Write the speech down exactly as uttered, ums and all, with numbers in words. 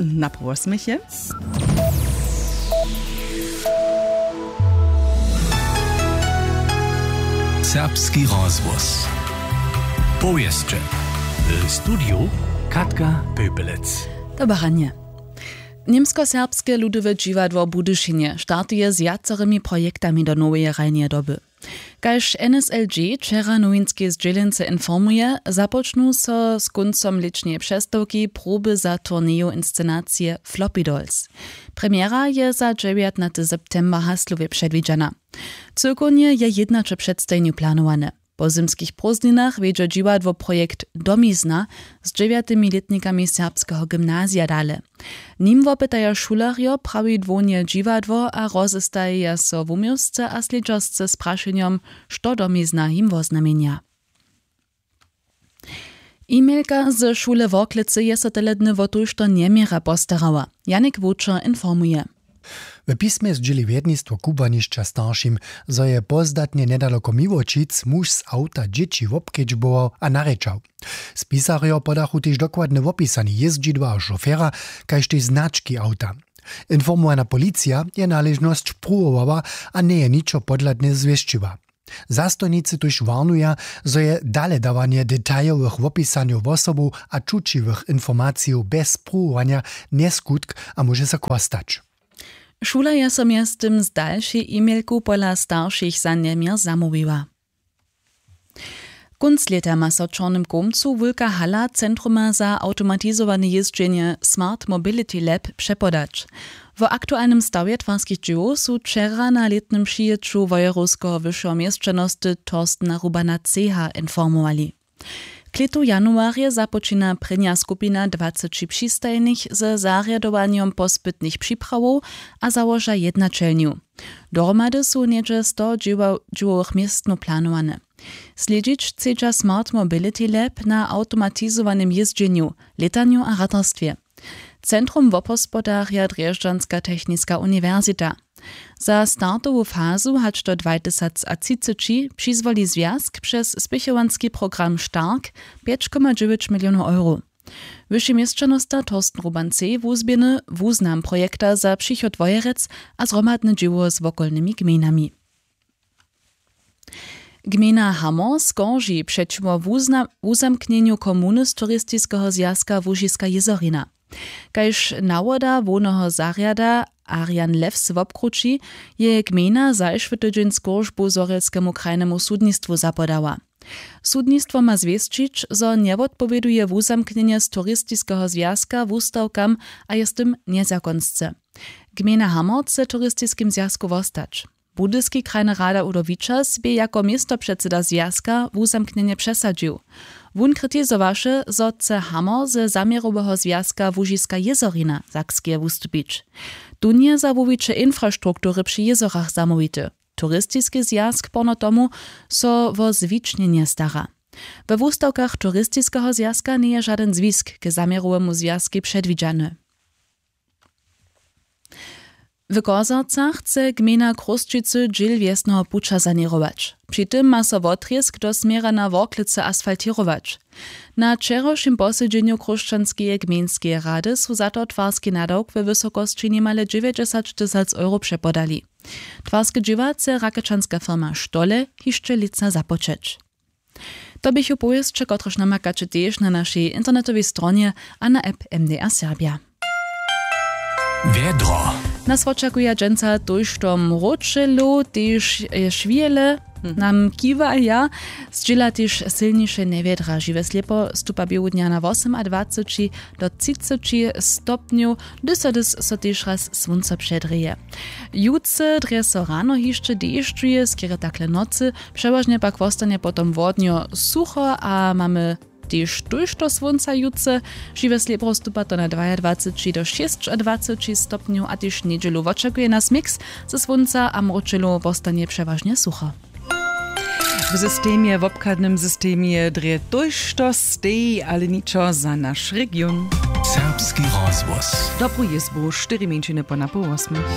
Na połosmychy. Serbski rozhłos. Powěsće. W studiju Katka Pepelec. Dobaranje. Němskoserbske ludowe dźiwadło w Budyšinje startuje z wjacorymi projektami do noweje hrajneje doby. Kaž N S L G wčera nowinskej zdźělence informuje, započnu so z kóncom lěćneje přestawki proby za turneju inscenacije Floppy Dolls. Premjera je za dźewjatnaty september w Haslowje předwidźana. Cyłkownje je jědnaće předstajenjow planowane. Po zymskich prózdninach wjedźe dźiwadło projekt Domizna z dźewjatymi lětnikami serbskeho gymnazija dale. Nim wopytaja šulerjo prawidłownje dźiwadło a rozestajeja so wuměłsce a slědźersce z prašenjom, što Domizna jim woznamjenja. E-mailka ze šule Worklecy je so tele dny wo tójšto njeměrje postarała. Janik Wučer informuje. W pismje zdźěli wjednistwo kubłanišća staršim, zo je pozdatnje njedaloko Miłoćic muž z awta dźěći wobkedźbował a narěčał. Spisarjo podachu tež dokładne wopisanje jězdźidła a šofera, kaž tež znački awta. Informowana policija je naležnosć pruwowała a njeje ničo podhladne zwěsćiła. Zastojnicy tuž warnuja, zo je daledawanje detajowych wopisanjow wosobow a čućiwych informacijow bjez pruwowanja njeskutk a móže so chłostać. Šula je so mjeztym z dalšej e-mailku pola staršich za njeměr zamołwiła. Kónc lěta ma so w čornym kołmcu wulka hala centruma za awtomatizowane jězdźenje Smart Mobility Lab přepodać. Wo aktualnym stawje twarskich dźěłow su wčera na lětnym přijěću wojerowskeho wyšeho měšćanosty Torstena Rubana ceha informowali. Klětu w januarje započina prěnja skupina dwaceći přistajnych ze zarjadowanjom pospytnych připrawow a załoža jednaćelnju. Dohromady su něhdźe sto dźěłowych městnow planowane. Slědźić chcedźa Smart Mobility Lab na awtomatizowanym jězdźenju, lětanju a ratarstwje. Centrum wobhospodarja drježdźanska techniska uniwersita. Za startowu fazu hač do dwajtysacatřiceći přizwoli zwjazk přez spěchowanski program stark pjeć koma dźewjeć milionow euro. Wyši měšćanosta Torsten Ruban C wuzběhny wuznam projekta za přichod wojerec a zhromadne dźěło z wokolnymi gmejnami. Gmejna Hamor skorži přećiwo wuzna- wuzamknjenju komuny z turistiskeho zwjazka Łužiska jězorina. Kaž nawoda hłowneho zarjada Arian Lewz wobkrući, je gmejna zašły tydźeń skóržbu zhorjelskemu krajnemu sudnistwu zapodała. Sudnistwo ma zwěsćić, zo njewotpowěduje wuzamknjenje z turistiskeho zwjazka wustawkam a je z tym njezakonsce. Gmejna Hamor chce w turistiskim zwjazku wostać. Budyski krajny rada Udo Wičas bě jako městopředsyda zwjazka wuzamknjenje přesadźił. Wón kritizowaše, zo chce Hamor ze zaměroweho zwjazka Łužiska jězorina Sakskeje wustupić. Tón je za wuwiće infrastruktury při jězorach zamołwity. Turistiski zwjazk porno tomu so wo zwičnjenje stara. We wustawkach turistiskeho zwjazka njeje žadyn zwisk k zaměrowemu zwjazkej předwidźany. W Korzercach chce gmejna Chrósćicy dźěl wjesneho puća saněrować. Při tym ma so wotrězk do směra na Worklecy asfaltěrować. Na wčerawšim posedźenju Chróšćanskeje gmejnskeje rady su za to twarski nadawk we wysokosći nimale dźewjećdźesat tysac euro přepodali. Twarske dźěła chce rakečanska firma Stole hišće lětsa započeć. To běchu powěsće, kotrež namakaće tež na našej internetowej stronje a na app M D R Serbja. Wjedro. Nas wočakuja dźensa tójšto mróčelow, tež, e, šwihele nam kiwaja. Zdźěla tež sylniše njewjedra. Žiwe slěpo stupa běłudnja na wosomadwaceći do třiceći stopnjow, hdyž so, hdyž so tež raz słónco předrěje. Jutře drje so rano hišće dešćuje, skerje takle w nocy, přewažnje pak wostanje potom wodnjo sucho a mamy tež tójšto słónca jutře. Žiwe slěbro stupa to na dwajadwaceći do šěsćadwaceći stopnjow a tež njedźelu wočakuje nas miks ze słónca a mróčelow, wostanje přewažnje sucho. W systemje, w wobchadnym systemje drje tójšto steji, ale ničo za naš region. Serbski rozhłos. Dobru jězbu, štyri mjeńšiny po napoł wosmich.